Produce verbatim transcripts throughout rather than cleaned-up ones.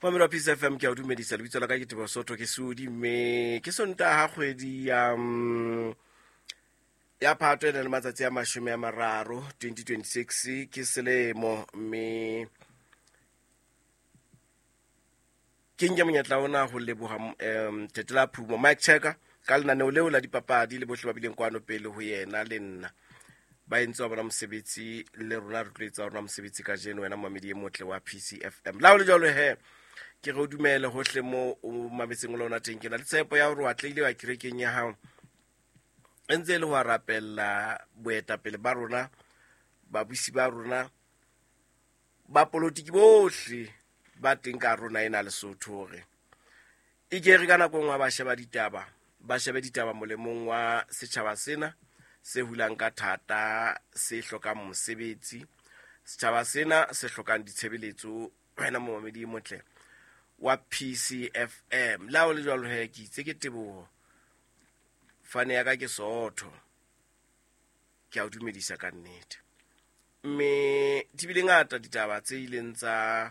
Mamelo wa Peace F M, ke a o dumedisa. Lebitso la ka ke Teboho Sotho, ke Sudi, mme ke Sontaha kgwedi ya, mm, ya Phato e nang le matsatsi a mashome a mararo, twenty twenty-six, ke selemo, mme ke nke monyetla ona ho leboha, em, Tetela Phumo, Mike Checker, ka lenaneo leo la dipapadi le bohle ba bileng kwano pele ho yena le nna. Ba entse wa bona mosebetsi, le rona re tlo etsa wa rona mosebetsi kajeno, wena momamedi e motle wa P C F M. La ho le jwalo he, ke re o dumele hohle moo o mametseng o le ona teng. Ke na le tshepo ya hore o atlehile wa kerekeng ya hao, e ntse e le ho rapella boetapele ba rona, babusi ba rona, ba politiki bohle ba teng ka rona ena Lesotho, hore e ke re ka nako e nngwe ba sheba ditaba, ba shebe ditaba molemong wa setjhaba sena se hulang ka thata, se hlokang mosebetsi, setjhaba sena se hlokang ditshebeletso. Wena momamedi e motle wa P C F M, le ha ho le jwalo he, ke itse ke Teboho, fane ya ka ke Sootho, ke a o dumedisa ka nnete. Mme di bile ngata ditaba tse ileng tsa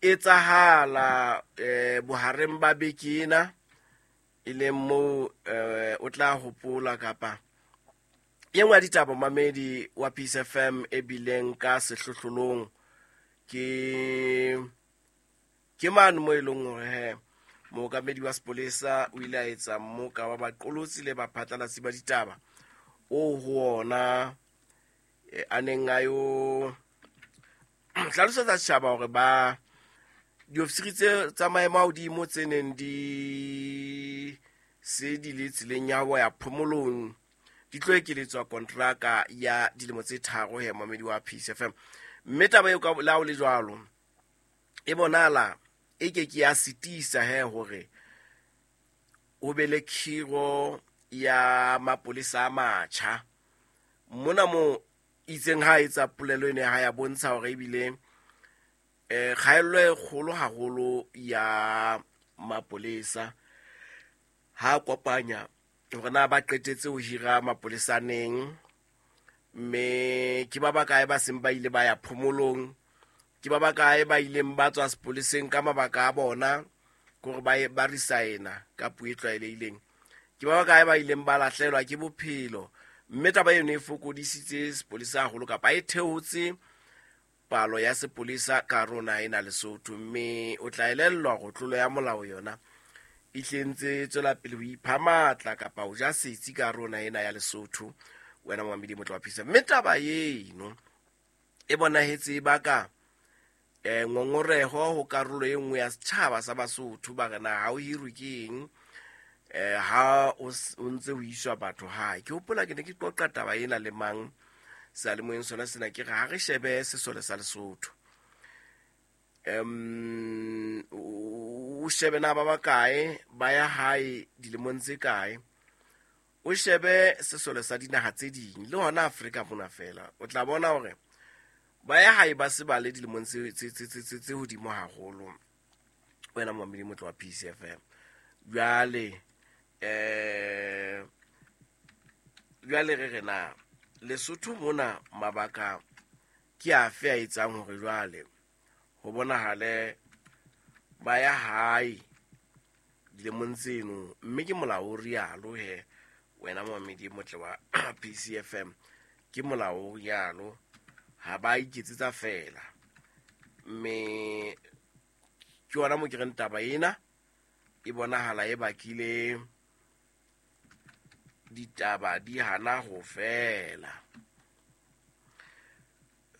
etsahala, eh, bohareng ba beke ena, e leng moo, eh, o tla hopola kapa e nngwe ya ditaba mamedi wa Peace F M e bileng ka sehlohlolong ke, ke mane moo e leng hore he mookamedi wa sepolesa o ile a etsa mmoka wa baqolotsi le baphatlalatsi ba ditaba o ho ona, eh, a neng a yo hlalosetsa setjhaba hore ba diofisiri tse tsa maemo a hodimo tse neng di se di le tseleng ya ho ya phomolong di tlo ekeletswa kontraka ya dilemo tse tharo he momamedi wa Peace F M. Mme taba eo ka la ho le jwalo e bonahala e ke ke ya sitisa he hore ho be le khiro ya mapolesa a matjha. Mona mo itseng ha etsa polelo ene ha ya bontsha hore ebile, eh, kgaello e kgolo haholo ya mapolesa ha kopanya hore na ba qetetse ho hira mapolesa neng, mme ke ba bakae ba seng ba ile ba ya phomolong, ke ba bakae ba ileng ba tswa sepoleseng ka mabaka a bona, kore ba e-, ba resign-a ka puo e tlwaelehileng, ke ba bakae ba ileng ba lahlehelwa ke bophelo. Mme taba eno e fokodisitse sepolesa haholo kapa e theotse palo ya sepolesa ka rona ena Lesotho. Mme o tla elellwa hore tlolo ya molao yona e hle ntse e tswela pele ho ipha matla kapa ho ja setsi ka rona ena ya Lesotho, wena momamedi motle wa Peace. Mme taba eno e bonahetse e baka, eh, ngongoreho ho karolo e nngwe ya setjhaba sa Basotho, ba re na ha o hirwe ke eng, eh, ha o s-, o ntse ho iswa batho hae. Ke hopola ke ne ke qoqa taba ena le mang seyalemoyeng sona sena, ke re ha re shebe sesole sa Lesotho, em, o shebe na ba bakae ba ya hae dilemong tse kae, o shebe sesole sa dinaha tse ding le hona Afrika mona fela, o tla bona hore ba ya hae ba se ba le dilemong tse, tse, tse, tse, tse, tse hodimo haholo. Wena momamedi motle wa P C F M, jwale, eh, jwale re re na Lesotho mona mabaka ke afe a etsang hore jwale ho bonahale ba ya hae dilemong tseno, mme ke molao o rialo he, wena momamedi motle wa P C F M, ke molao o rialo, ha ba iketsetsa fela. Mme ke yona mo ke reng taba ena e bonahala e bakile ditaba di hana ho fela.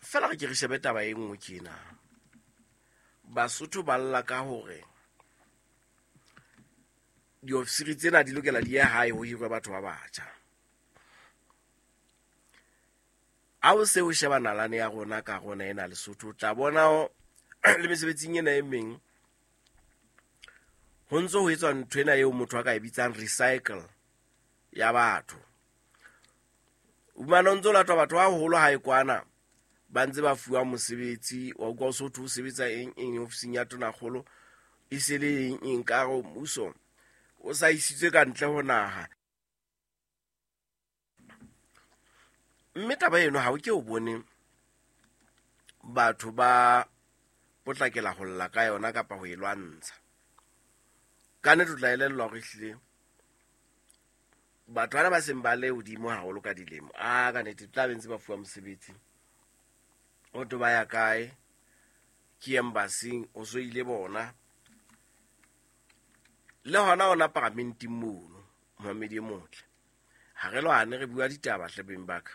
Fela re ke re shebe taba e nngwe ke ena. Basotho ba lla ka hore diofisiri tsena di lokela di ye hae ho hirwe batho ba batjha. Ha o se o sheba nalane ya rona ka rona ena Lesotho, o tla bona o, le mesebetsing ena e meng ho ntso ho etswa ntho ena eo motho a ka e bitsang recycle ya batho. O fumana o ntso latwa batho ba haholo hae kwana, ba ntse ba fuwa mosebetsi, wa utlwa o so thwe o sebetsa eng eng ofising ya tonakgolo, e se le eng eng ka hare ho mmuso, o sa isitswe ka ntle ho naha. Mme taba eno ha o ke o bone batho ba potlakela ho lla ka yona kapa ho e lwantsha. Ka nnete o tla elellwa hore ehlile batho bana ba seng ba le hodimo haholo ka dilemo, a ka nnete tla be ntse ba fuwa mosebetsi. O to ba ya kae? Ke embassy o so ile bona. Le hona ona paramenteng mono, momamedi e motle. Ha re lwane re bua ditaba hle beng ba ka.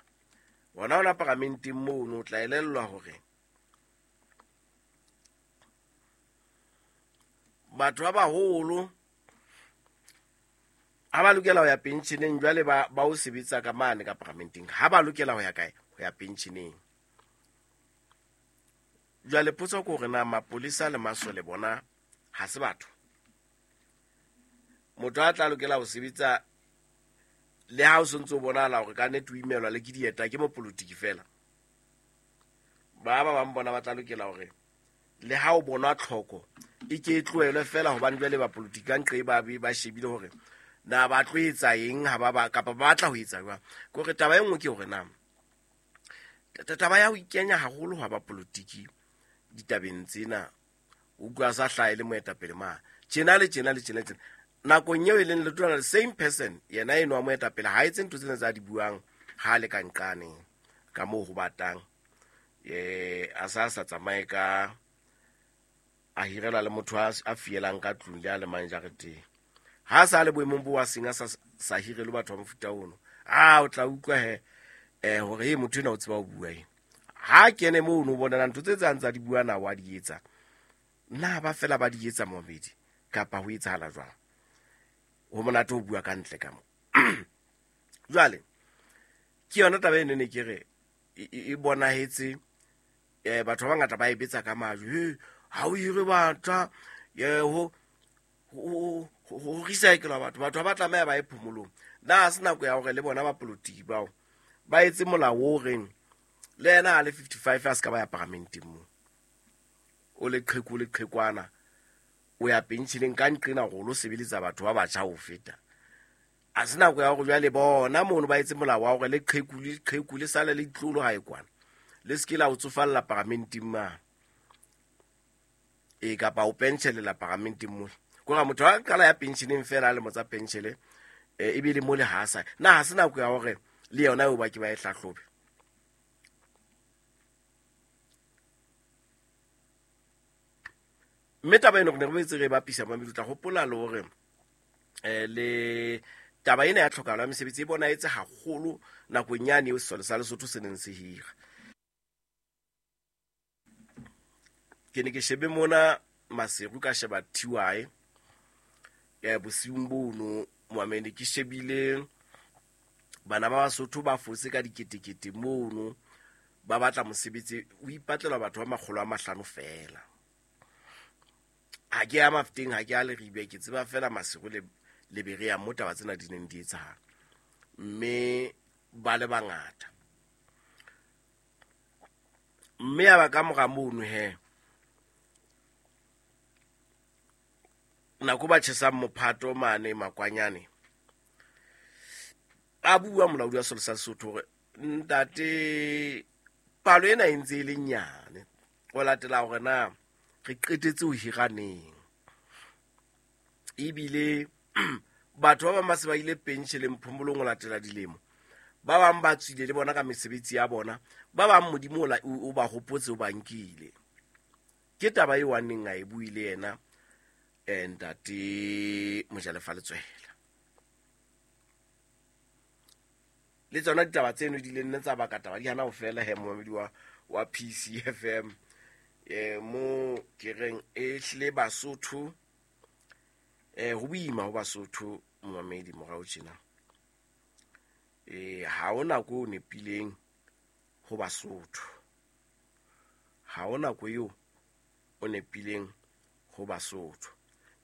Hona ona paramenteng mono o tla elellwa hore batho ba baholo ha ba lokela ho ya pensioneng, jwale ba ba o sebetsa ka mane ka paramenteng. Ha ba lokela ho ya kae? Ho ya pensioneng. Jwale potso ke hore na mapolesa le masole bona ha se batho? Motho a tla lokela ho sebetsa le ha o sontso o bonahala hore ka nnete o imelwa le ke dieta ke mopolitiki fela. Ba ba bang bona ba tla lokela hore le ha o bonwa tlhoko e ke e tlohelwe fela, hobane jwale ba politiki ka nqe ba be ba shebile hore na ba tlo etsa eng ha ba ba kapa ba batla ho etsa jwang. Ke hore taba e nngwe ke hore na taba ya ho ikenya haholo ha ba politiki ditabeng tsena, o utlwa sa hlahe le moetapele ma tjena le tjena le tjena tjena. Nakong eo e leng le tlola the same person, yena eno wa moetapele ha etse ntho tsena tsa di buang ha le ka nqane ka moo ho batang. Eh a sa sa tsamaye ka a hirela le motho a fielang ka tlung le a le mang jareteng. Ha sa le boemong bo wa seng a sa sa hirele batho ba mofuta ono. Ah o tla utlwa he eh hore e motho ena o tseba ho bua eng. Ha kene moo no bona ntho tse tsang tsa di bua na wa di etsa. Na ba fela ba di etsa momedi kapa ho etsahala jwang? Ho monate ho bua ka ntle ka mo. Jwale ke yona taba e ne ke re e bonahetse eh batho ba bangata ba e betsa ka majwe. He ha o hire batho ye ho ho ho recycle batho, batho ba tlameha ba ye phomolong. Na se nako ya hore le bona ba politiki bao ba etse molao o reng le yena a le fifty-five a se ka ba ya paramenteng mo. O le qheku le qhekwana o ya pensioneng ka nqena hore o lo sebeletsa batho ba batjha ho feta. A se nako ya hore jwale bona mono ba etse molao wa hore le qheku le qheku le sale le ditlolo ha e kwana. Le se ke la o tsofalla paramenteng ma. E kapa o pensionela paramenteng mo. Kore motho a qala ya pensioneng fela a le motsa pensionele e be le mo le ha sa. Na ha se nako ya hore le yona eo ba ke ba e hlahlobe. Mme taba eno re ne re boetse re bapisa mamedi, o tla hopola le hore eh le taba ena ya tlhokahalo ya mesebetsi e bonahetse haholo nakong yane eo sesole sa Lesotho se neng se hira. Ke ne ke shebe mona Maseru ka sheba T Y ya bosiung bono moamedi, ke shebile bana ba Basotho ba fotse ka diketekete mono ba batla mosebetsi, o ipatlelwa batho ba makgolo a mahlano fela. Ha ke ya Mafteng, ha ke ya Leribe, ke tseba fela Maseru le le Berea mo taba tsena di neng di etsahala. Mme ba le bangata. Mme ya ba ka mora mono he nako ba tjhesang mophato mane Makwanyane, a bua molaodi wa Sesole sa Lesotho hore ntate palo ena e ntse e le nyane, o latela hore na re qetetse ho hira neng. Ebile batho ba bang ba se ba ile pensioneng phomolong ho latela dilemo, ba bang ba tswile le bona ka mesebetsi ya bona, ba bang Modimo o ba hopotse o ba nkile. Ke taba eo a neng a e buile yena ntate Mojalefa Letswela. Le tsona ditaba tseno di ile nne tsa baka taba di hana ho fela he momamedi wa wa P C F M. Eh mo ke reng e hle Basotho eh ho boima ho Basotho momamedi morao tjena. Eh ha ona ko nepileng ho Basotho. Ha ona ko eo o nepileng ho Basotho.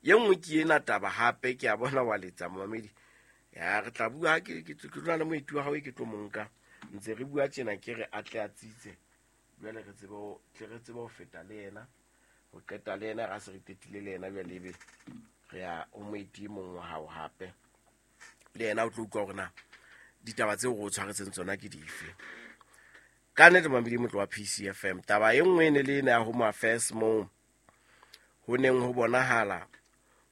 Ye nngwe ke ena taba hape ke a bona wa letsa momamedi. Ya re tla bua ke ke tlo le moeti wa hao ke tlo monka. Ntse re bua tjena ke re atle a tsitse. Jwale re tsebe ho tle re tsebe ho feta le yena. Ho qeta le yena ra se re qetile le yena jwale ebe re ya o moeti e mong wa hao hape. Le yena o tlo utlwa hore na ditaba tseo re o tshwaretseng tsona ke dife. Ka nnete mamedi motlo wa P C F M, taba e nngwe e ne le ena ya Home Affairs moo ho neng ho bonahala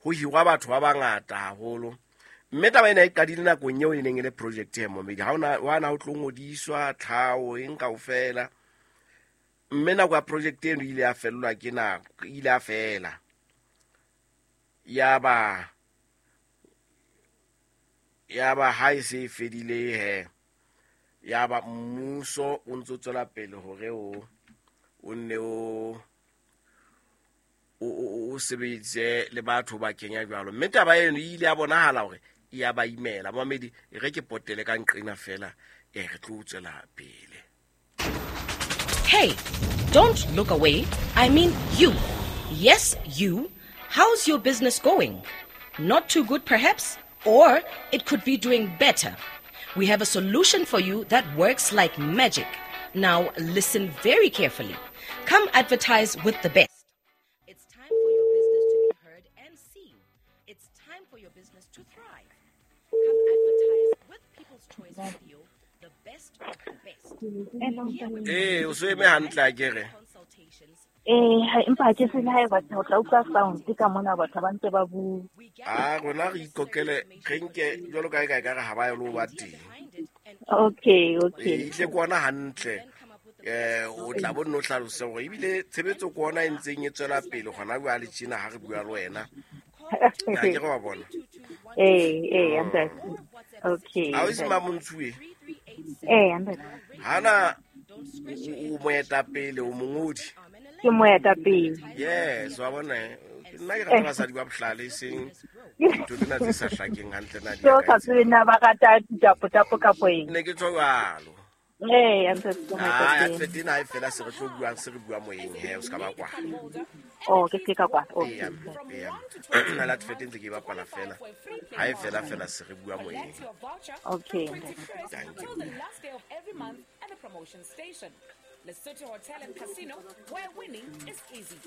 ho hirwa batho ba bangata haholo. Mme taba ena e qadile nakong eo e neng e le project e momedi ha ona wa na ho tlo ngodiswa tlhao eng kaofela. Mme nako ya project eno ile ya fellwa ke nako, ile ya fela. Ya ba ya ba ha e se e fedile he, ya ba mmuso o ntso tswela pele hore o o nne o o sebeditse le batho ba kenya jwalo. Mme taba eno e ile ya bonahala hore e ya ba imela. Mamedi, e re ke potele ka nqena fela, e re tlo tswela pele. Hey, don't look away. I mean you. Yes, you. How's your business going? Not too good perhaps? Or it could be doing better. We have a solution for you that works like magic. Now listen very carefully. Come advertise with the best. It's time for your business to be heard and seen. It's time for your business to thrive. Come advertise with People's Choice Radio, the best of the best. Eh, o so eme hantle akere. Eh, empa ke se le batho tla utlwa sound ka mona batho ba ntse ba bua. Ah, rona re ikokele re nke jwalo ka e ka ka re ha ba yo ba teng. Okay, okay. E tle kwana hantle. Eh, o tla bo nno hlalose hore ebile tshebetso kwana e ntseng e tswela pele gona bua le tjena ha re bua le wena. Ha ke re wa bona. Eh, eh, ntate. Okay. Ha o se Mamontsuwe? Eh, ntate. Hana o moetapele o mongodi. Ke moetapele. Yes, wa bona. Nna ke rata basadi ba bohlale seng dintho tsena tse sa hlakeng hantle na di. So ka tsena ba rata ditapo tapo ka poeng. Ne ke tswa jwalo. Eh, ntate ke moetapele. Ah, advert ena e fela se re tlo buang se re bua moyeng he, o ska ba kwa. Oh, ke se ka kwa. Okay. Yeah. Nna la advert ntse ke bapala fela. Ha e fela fela se re bua moyeng. Okay. Thank you. Lesotho Hotel and Casino, where winning is easy.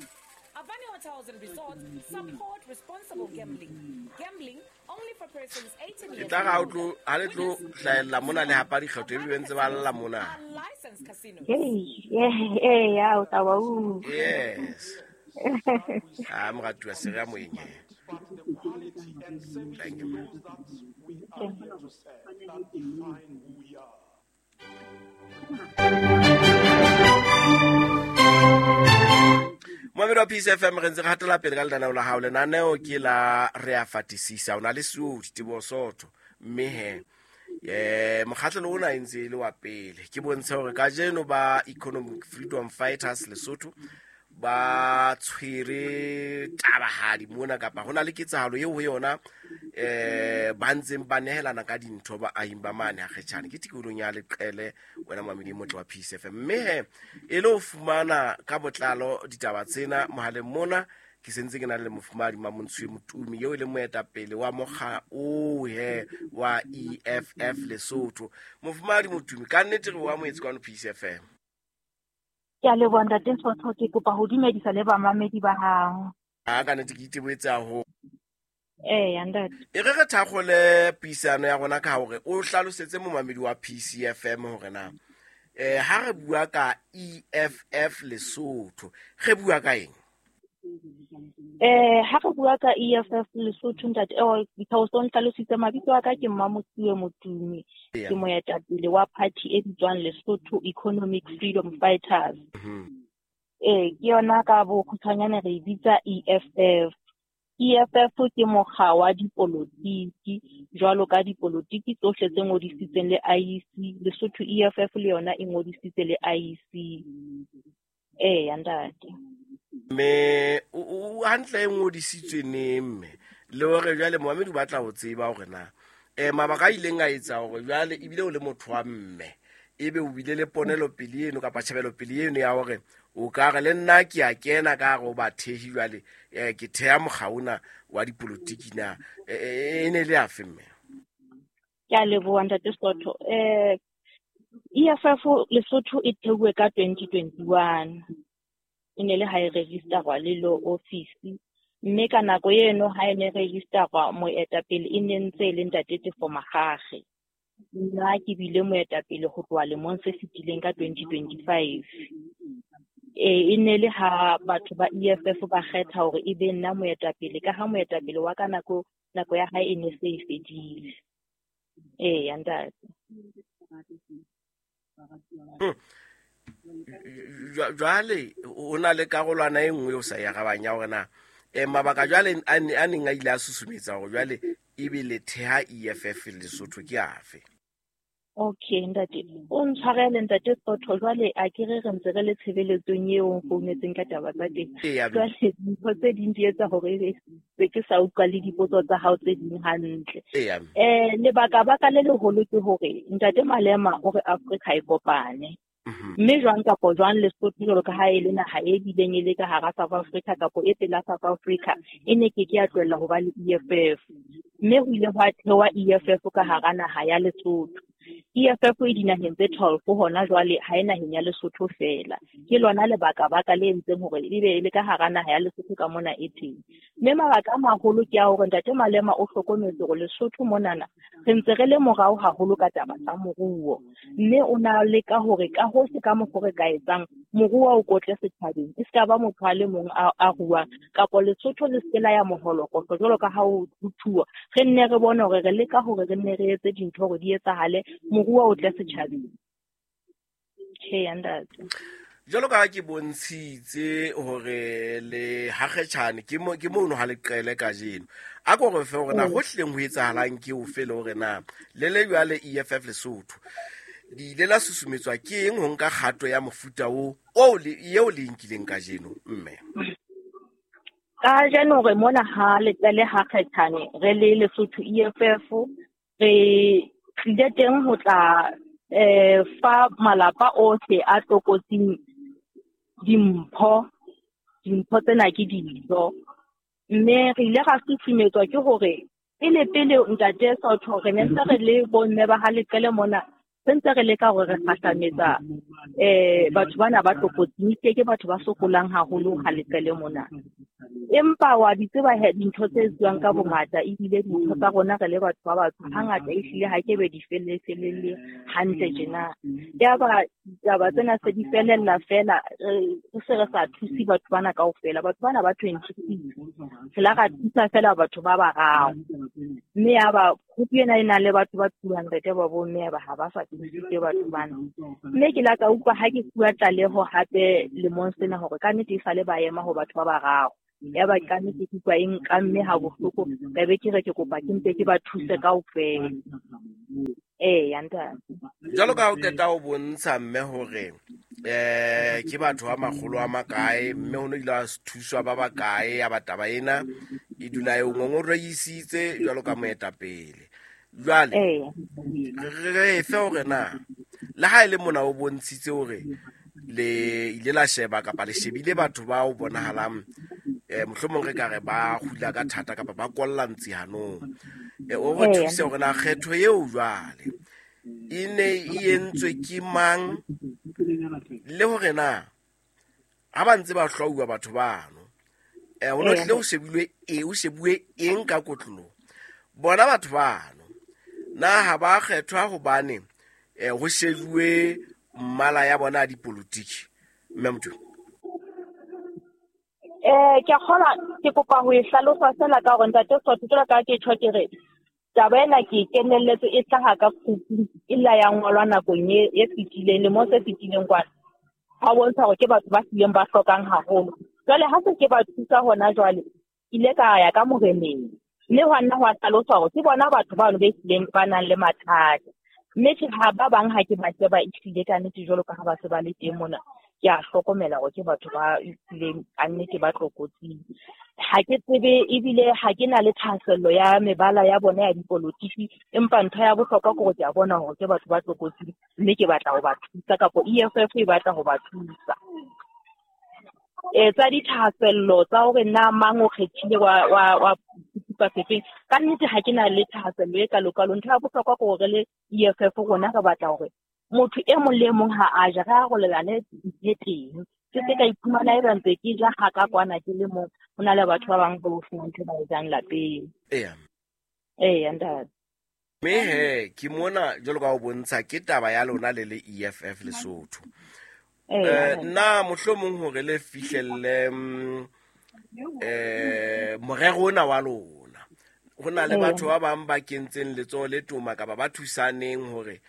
Avani Hotels and Resorts support responsible gambling. Gambling only for persons eighteen years old. Tla ga o tlo ha le tlo hlaella mona le hapa dikgetho e be ntse ba lla mona. Hey, yeah, hey, ya o tla wa u. Yes. Ah, moratuwa se re moyeng. Thank you. Moamedi wa Peace F M re ntse re hatela pele ka lenaneo la hao. Lenaneo ke la re a fatisisa. O na le Seodi Teboho Sotho. Mme he eh mokgahlelo ona e ntse e le wa pele. Ke bontshe hore kajeno ba Economic Freedom Fighters Lesotho ba tshwere tabahadi mona kapa hona le ketsahalo eo ho yona eh ba ntseng ba nehelana ka dintho ba ahing ba mane ha kgetjhane ke tikolong ya Leqele wena Mamedi Motle wa Peace F M. Mme he e le ho fumana ka botlalo ditaba tsena mohaleng mona ke sentse ke na le mofumadi Mamontsuwe Motumi eo e leng moetapele wa mokga o he wa E F F Lesotho. Mofumadi Motumi, ka nnete re o amohetse kwano Peace F M. Ke a leboha ntate Sotho, ke kopa ho dumedisa le bamamedi ba hao. A ka nnete ke iteboetse haholo. Eh, ntate. E re re thakgole puisano ya rona ka hore o hlalosetse momamedi wa P C F M hore na eh ha re bua ka E F F Lesotho re bua ka eng? Eh, ha re bua ka E F F Lesotho ntate, eh because o nhlalositse mabitso a ka ke Mmamontsuwe Motumi. Ke moetapele wa party e bitswang Lesotho Economic Freedom Fighters. Eh, ke yona ka bokgutshwanyane re e bitsa E F F. E F F ke mokga wa dipolotiki jwalo ka dipolotiki tsohle tse ngodisitsweng le I E C. Lesotho E F F le yona e ngodisitse le I E C. Eh, ntate. Me o hantle e ngodisitswe neng mme le hore jwale Mohamedi o batla ho tseba hore na eh mabaka a ileng a etsa hore jwale ebile o le motho wa mme ebe o bile le ponelo pele eno kapa tjhebelo pele eno ya hore o ka re le nna ke a kena ka hare o ba thehi jwale eh ke theha mokgaona wa dipolotiki na e ne le afe mme? Ke a leboha ntate Sotho. Eh E F F Lesotho e theuwe ka twenty twenty-one. E ne le ha e registerwa le law office, mme ka nako eno ha e ne registerwa moetapele e ne ntse e le ntate Tefo Magage. Nna ke bile moetapele ho tloha lemong se fetileng ka twenty twenty-five. E e ne le ha batho ba E F F ba kgetha hore e be nna moetapele, ka ha moetapele wa ka nako nako ya hae e ne se e fedile. Eya ntate. Jwale o na le karolwana e nngwe o sa e arabang ya hore na eh mabaka jwale a neng a ile a susumetsa hore jwale ebe le theha E F F Lesotho ke afe? Okay ntate, o ntshwarele ntate Sotho, jwale a ke re re ntse re le tshebeletsong eo o nfounetseng ka taba tsa teng. Jwale dintho tse ding di etsa hore se ke sa utlwa le dipotso tsa hao tse ding hantle. Eh lebaka baka le leholo ke hore ntate Malema o re Afrika e kopane. Mme jwang kapo jwang Lesotho jwalo ka ha e le naha e bileng e le ka hara South Africa kapo e pela South Africa, e ne ke ke ya tlohella ho ba le E F F. Mme ho ile hwa thewa E F F ka hara naha ya Lesotho. E F F e dinaheng tse twelve hona jwale, ha e naheng ya Lesotho feela. Ke lona lebaka baka le entseng hore ebe e le ka hara naha ya Lesotho ka mona e teng. Mme mabaka a maholo ke a hore ntate Malema o hlokometse hore Lesotho monana re ntse re le morao haholo ka taba tsa moruo. Mme o na leka hore ka hohle ka mokgwa re ka etsang moruo o kotle setjhabeng, e ska ba motho a le mong a ruang, kapo Lesotho le se la ya moholokotlo jwalo ka ha ho thuwa. Re nne re bone hore re leka hore re nne re etse dintho hore di etsahale, moruo o tle setjhabeng. Tjhe ntate. Jwalo ka ha ke bontshitse hore le hakgetjhane ke mo ke mono ha le qele kajeno. A ko re fe hore na hohleng ho etsahalang ke ofe le hore na le le jwale E F F Lesotho di ile la susumetswa ke eng ho nka kgato ya mofuta o o le eo le nkileng kajeno mme? Kajeno re mona ha le qele hakgetjhane re le Lesotho E F F re tlile teng ho tla eh fa malapa ohle a tlokotsing dimpho. Dimpho tsena ke dijo. Mme re ile ra susumetswa ke hore pele pele ntate Sotho re ne ntse re le bomme ba ha leqele mona, re ntse re leka hore re kgahlametsa eh batho bana ba tlokotsing, ke ke batho ba sokolang haholo ha leqele mona. Empa wa di tseba he dintho tse etsuwang ka bongata, ebile dintho tsa rona re le batho ba batsho hangata ehlile ha ke be di felle felelle hantle tjena. Yaba ditaba tsena se di felella fela, re se re sa thuse batho bana kaofela. Batho bana ba twenty-six, re la ra thusa fela batho ba bararo. Mme yaba group ena e nang le batho ba two hundred ba bomme ba ha ba sa thusitse batho bana. Mme ke la ka utlwa ha ke fuwa tlaleho hape lemong sena hore ka nnete e sale ba ema ho batho ba bararo. Yaba ka nnete ke utlwa e nka mme ha bohloko, ka be ke re ke kopa ke mpe ke ba thuse kaofela. Eya ntate. Jwalo ka ha o qeta ho bontsha mme hore eh ke batho ba makgolo a makae, mme ho no ile ha thuswa ba bakae, ya ba taba ena e dula e ngongoreisitse jwalo ka moetapele. Jwale re fe hore na le ha e le mona o bontshitse hore le ile la sheba kapa le shebile batho ba o bonahalang eh mohlomong re ka re ba hula ka thata kapa ba kolla ntsi hanong, eh o re thuse hore na kgetho eo jwale e ne e entswe ke mang, le hore na ha ba ntse ba hlwauwa batho bano eh ho no tlile ho shebilwe e o shebuwe eng ka kotlolo bona batho bano, na ha ba kgethwa hobane eh ho shebuwe mmala ya bona a dipolotiki? Mme motho eh ke kgola ke kopa ho e hlalosa fela ka hore ntate Sotho jwalo ka ke tjho ke re taba ena ke kenelletse e hlaha ka group e la ya ngolwa nakong e e fetileng le mo se fetileng kwana. Ha bontsha hore ke batho ba hlileng ba hlokang haholo. Jwale ha se ke ba thusa hona jwale, ile ka ya ka moreneng. Mme hwa nna hwa hlalosa hore ke bona batho bano ba hlileng ba nang le mathata. Mme tjhe ha ba bang ha ke ba sheba ehlile ka nnete jwalo ka ha ba se ba le teng mona, ke a hlokomela hore ke batho ba hlileng ka nnete ba tlokotsing. Ha ke tsebe ebile ha ke na le thahasello ya mebala ya bona ya dipolotiki, empa ntho ya bohlokwa ke hore ke a bona hore ke batho ba tlokotsing, mme ke batla ho ba thusa kapo E F F e batla ho ba thusa. Eh tsa dithahasello tsa hore na mang o kgethile wa wa wa sekipa sefeng, ka nnete ha ke na le thahasello e kalokalo. Ntho ya bohlokwa ke hore le E F F rona re batla hore motho e mong le e mong ha a ja re arolelane le teng. Ke se ka iphumana e ba ntse ke ja ha ka kwana ke le mong, ho na le batho ba bang ba senang ntho ba e jang lapeng. Eya. Eya ntate. Mme he ke mona jwalo ka ho bontsha ke taba ya lona le le E F F Lesotho. Eh na mohlomong hore le fihlelle eh morero ona wa lona ho na le batho ba bang ba kentseng letsoho le toma kapa ba thusaneng hore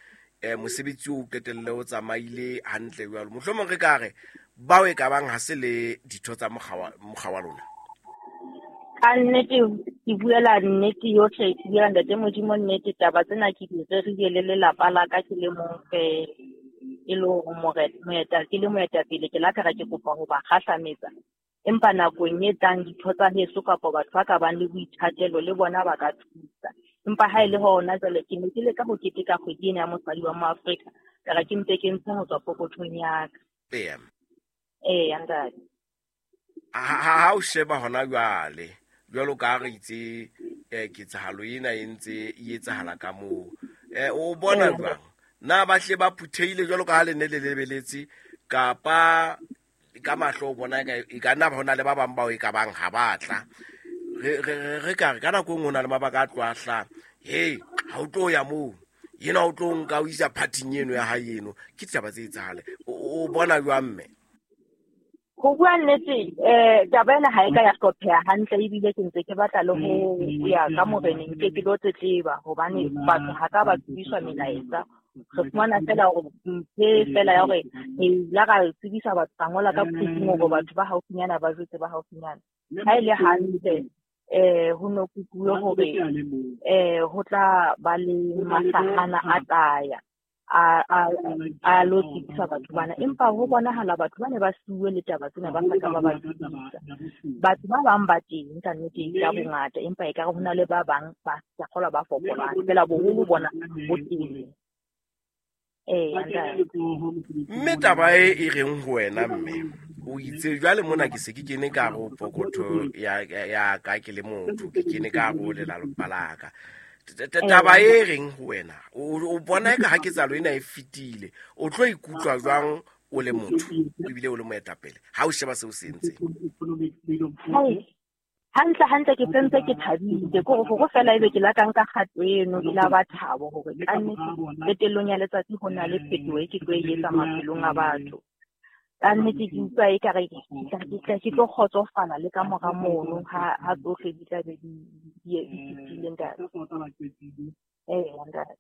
eh mosebetsi o qetelle o tsamaile hantle jwalo mohlomong re ka re bao e ka bang ha se le ditho tsa mokga mokga wa lona. Ka nnete ke buela nnete yohle, ke buela ntate Modimo nnete. Taba tsena ke di rerile le lelapa la ka ke le mong fela, e le hore moeta ke le moetapele ke la ka ra ke kopa ho ba kgahlametsa. Empa nakong e tlang ditho tsa heso kapa batho ba ka bang le boithatelo le bona ba ka thusa. Empa ha e le hona jwale ke ne ke leka ho keteka kgwedi ena ya mosadi wa Moafrika, ka re ke mpe ke ntshe ho tswa pokothong ya ka. Ee. Ee, ntate. Ha o sheba hona jwale jwalo ka re itse eh ketsahalo ena e ntse e etsahala ka moo eh o bona jwang na ba hle ba phutheile jwalo ka ha le ne le lebeletse kapa ka mahlo o bona e ka nna hona le ba bang bao e ka bang ha batla re re re ka re ka nako engwe hona le mabaka a tloa hey ha o tlo ya moo yena o tlo nka o isa partyng eno ya hae eno ke ditaba tse etsahale o bona jwang mme? Ho bua nnete eh taba ena ha e ka ya hlopheha hantle, ebile ke ntse ke batla le ho ya ka moreneng ke ke lo tletleba hobane batho ha ka ba tsebiswa melaetsa. Re fumana fela hore nthe fela ya hore re la ra tsebisa batho ba ngola ka phuthing hore batho ba haufinyana ba jwetse ba haufinyana. Ha e le hantle eh ho no kukuwe hore eh ho tla ba le mahlahana a tlaya a a a lo tsebisa batho bana, empa ho bonahala batho ba ne ba siuwe le taba tsena ba sa ka ba ba tsebisa. Batho ba bang ba teng ka nnete ka bongata, empa ekare ho na le ba bang ba sa kgolwa ba fokolang fela boholo bona bo teng. Ee, mme taba e e reng ho wena mme o itse jwale mona ke se ke kene ka ho pokotho ya ya ka ke le motho ke kene ka ho lelapa la ka. Taba e reng ho wena o bona eka ha ketsahalo ena e fetile o tlo ikutlwa jwang o le motho ebile o le moetapele ha o sheba seo se entseng? Hantle hantle ke sentse ke thabile ke hore hore fela ebe ke la ka nka kgato eno ke la ba thabo hore ka nnete qetellong ya letsatsi ho na le phetoho e ke tlo e etsa maphelong a batho. Ka nnete ke utlwa ekare ke tlo kgotsofala le ka mora mono ha ha tsohle di tla be di di fetile ntate. Ee, ntate.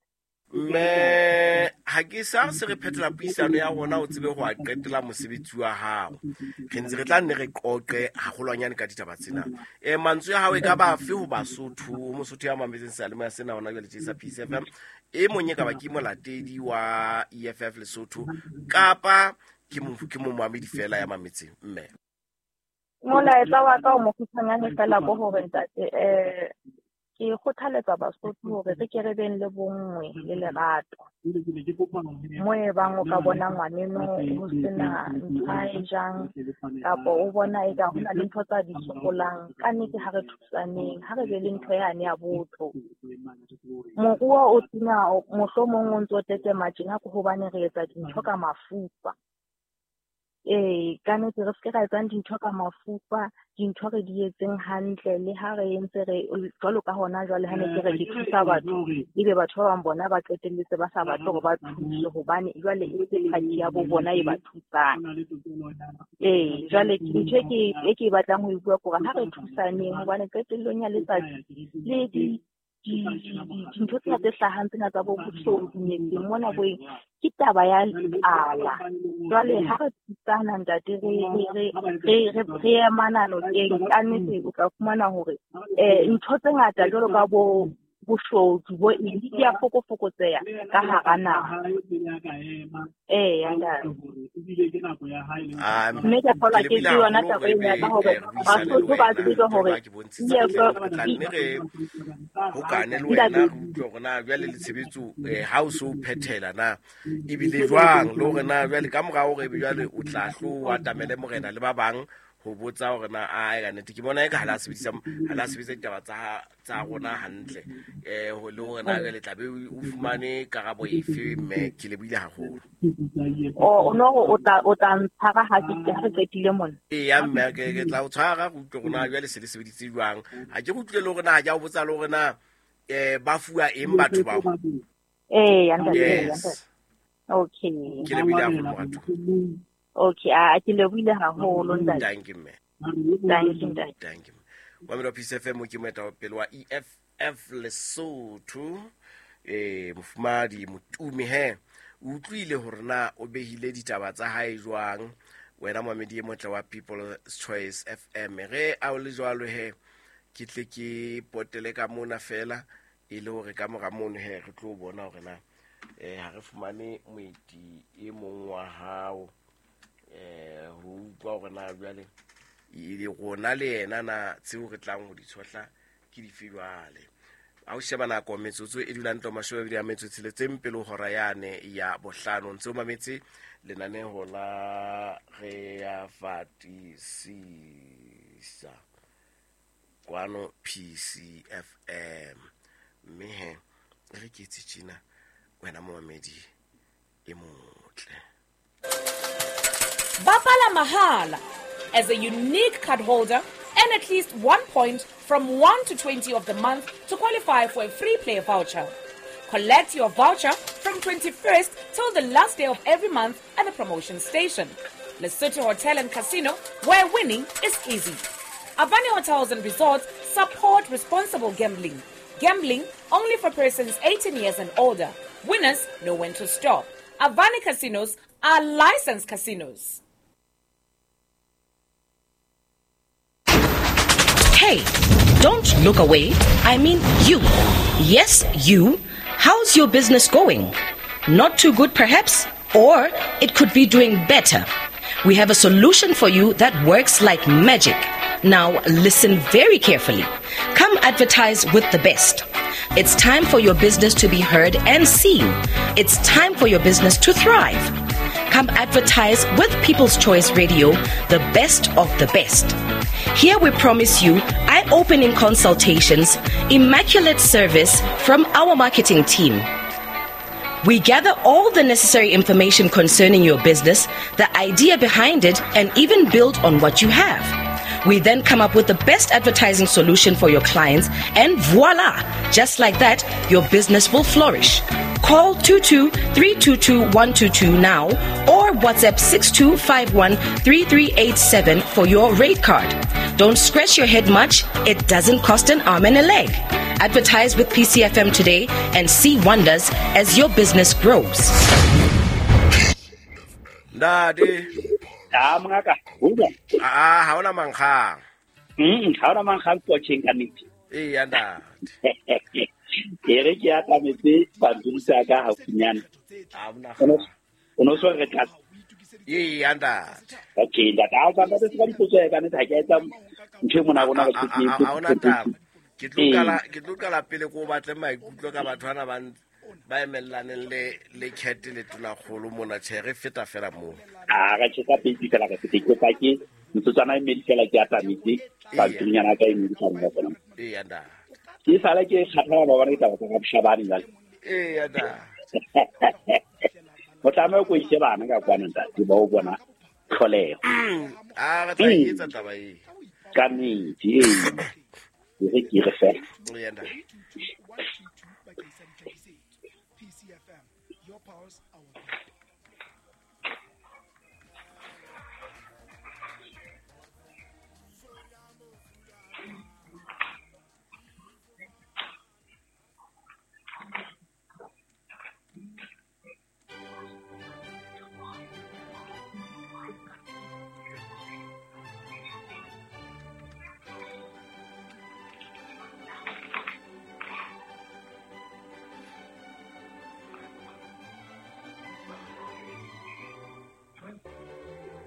Mme ha ke sa se re phetola puisano ya rona o tsebe ho a qetela mosebetsi wa hao. Re ntse re tla nne re qoqe haholwanyane ka ditaba tsena. Eh mantswe ya hao e ka ba afe ho Basotho, Mosotho ya mametseng seyalemoya sena hona jwale tje sa Peace F M, e mong e ka ba ke molatedi wa E F F Lesotho kapa ke mo ke mo moamedi fela ya mametseng mme? Molaetsa wa ka o mokgutshwanyane fela ko hore ntate eh ke kgothaletsa Basotho hore re ke re beng le bonngwe le lerato. Mo e bang o ka bona ngwaneno ho sena ntho a e jang kapa o bona eka ho na le ntho tsa di sokolang, ka nnete ha re thusaneng, ha re be le ntho yane ya botho. Moruo o tena mohlomong o ntso tetema tjena ke hobane re etsa dintho ka mafufa. Ee, ka nnete re se ke ra etsang dintho ka mafufa, dintho re di etseng hantle le ha re entse re jwalo ka hona jwale ha ne ke re ke thusa batho, ebe batho ba bang bona ba qetelletse ba sa batle hore ba thuswe hobane jwale e se party ya bo bona e ba thusang. Ee, jwale ntho e ke e ke batlang ho e bua ke hore ha re thusaneng hobane qetellong ya letsatsi le di dintho tsena tse hlahang tsena tsa bo boshodu metseng mona bo eng ke taba ya tlala. Jwale ha re thusana ntate re re re re re emana nokeng ka nnete o tla fumana hore eh ntho tse ngata jwalo ka bo boshodu bo eng di a fokofokotseha ka hara naha. Ee, ntate. Mme ke kgolwa ke ke yona taba ena ya hore Basotho ba tsebe hore re hokane le wena re utlwe hore na jwale le tshebetso ha o so phethela na ebile jwang le hore na jwale ka mora hore ebe jwale o tla hlo o atamele morena le ba bang ho botsa hore na a ka nnete ke bona eka ha la sebedisa ha la sebedisa ditaba tsa tsa rona hantle eh le hore na le tla be o fumane karabo efe mme ke lebohile haholo. O no o tla o tla ntshwara ha ke ha re qetile mona. Eya mme ke ke tla o tshwara go utlwe hore na jwale se le sebeditse jwang. Ha ke utlwile le hore na ha ke a o botsa le hore na eh ba fuwa eng batho bao. Ee, ntate. Okay. Ke lebohile haholo moratuwa. Okay, a ke lebohile haholo ntate. Thank you mme. Thank you ntate. Thank you. Wa melo Peace F M ke moetapele wa E F F Lesotho eh mofumadi Motumi he o utlwile hore na o behile ditaba tsa hae jwang wena momedi e motle wa People's Choice F M re a o le jwalo he ke tle ke potele ka mona fela e le hore ka mora mono he re tlo bona hore na eh ha re fumane moeti e mong wa hao eh ho utlwa hore na jwale e rona le yena na tseo re tlang ho di tshohla ke dife jwale. A o sheba nako metsotso e dulang to mashome a mabedi a metso e tsheletseng pele ho hora yane ya bohlano ntse o mametse lenaneho la re ya fatisisa kwano P C F M mme he re ke tse tjena wena momamedi e motle. Bapala mahala as a unique card holder and at least one point from one to twenty of the month to qualify for a free play voucher. Collect your voucher from twenty-first till the last day of every month at the promotion station. Lesotho Hotel and Casino, where winning is easy. Avani Hotels and Resorts support responsible gambling. Gambling only for persons eighteen years and older. Winners know when to stop. Avani Casinos are licensed casinos. Hey, don't look away. I mean you. Yes, you. How's your business going? Not too good, perhaps? Or it could be doing better. We have a solution for you that works like magic. Now, listen very carefully. Come advertise with the best. It's time for your business to be heard and seen. It's time for your business to thrive. Come advertise with People's Choice Radio, the best of the best. Here we promise you eye-opening consultations, immaculate service from our marketing team. We gather all the necessary information concerning your business, the idea behind it, and even build on what you have. We then come up with the best advertising solution for your clients, and voila! Just like that, your business will flourish. Call two two three two two one two two now or WhatsApp six two five one three three eight seven for your rate card. Don't scratch your head much. It doesn't cost an arm and a leg. Advertise with P C F M today and see wonders as your business grows. Ntate. Ah, mongaka. Ah, ha ona mankgang. Mm, ha ona mankgang potjeng ka nnete. Eh, ntate. Ke re ke atametse pampiri sa ka haufinyana. Ah, mona. O no so re tla. Eh, ntate. Okay, ntate, ha o ka ntate ka dipotso ya ka nnete ha ke etsa ntho e mona rona ba ke. Ha ona taba. Ke tlo qala ke tlo qala pele ko batle maikutlo ka batho bana ba ba emellaneng le le Cat le Tonakgolo mona tjhe re feta fela moo. Ah, re tjhe ka pedi fela ka fete ke pa ke motsotswana e mmedi fela ke atametse pampirinyana ka e mmedi ka nna tsona. Eh, ntate. Ke sala ke kgathala ba bona ditaba tsa Shabane jwale. Eh, ntate. O tlameha ko ise bana ka kwana ntate ba o bona tlholeho. Ah, re tla etsa taba e. Ka nnete, ee. Ke re ke re fela. Eh, ntate.